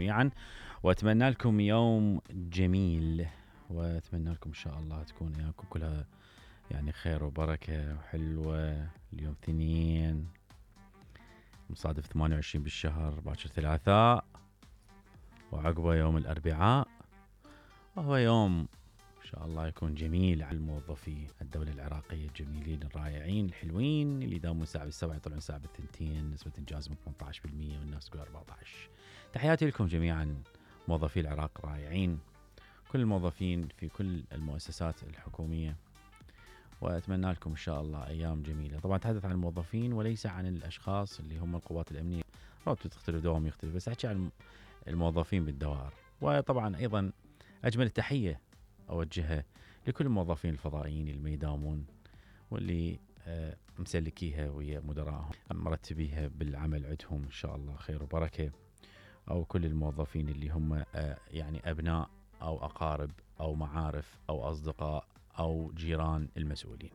جميعا، واتمنى لكم يوم جميل، واتمنى لكم ان شاء الله تكون ايامكم كلها يعني خير وبركة وحلوة. اليوم اثنين مصادف 28 بالشهر، باكر ثلاثاء، وعقبه يوم الاربعاء، وهو يوم ان شاء الله يكون جميل على موظفي الدولة العراقية الجميلين الرائعين الحلوين اللي يداومون ساعة بالسبع يطلعون ساعة بالثنتين، نسبة انجازهم 18% والناس تقول 14. تحياتي لكم جميعا موظفي العراق رائعين، كل الموظفين في كل المؤسسات الحكومية، واتمنى لكم ان شاء الله ايام جميلة. طبعا اتحدث عن الموظفين وليس عن الاشخاص اللي هم القوات الامنية، راتب تختلف دوام يختلف، بس احكي عن الموظفين بالدوائر. وطبعا ايضا اجمل التحية اوجهها لكل الموظفين الفضائيين اللي ما يداومون واللي مسلكيها ويا مدراءهم مرتبيها بالعمل عندهم ان شاء الله خير وبركة، او كل الموظفين اللي هم يعني ابناء او اقارب او معارف او اصدقاء او جيران المسؤولين.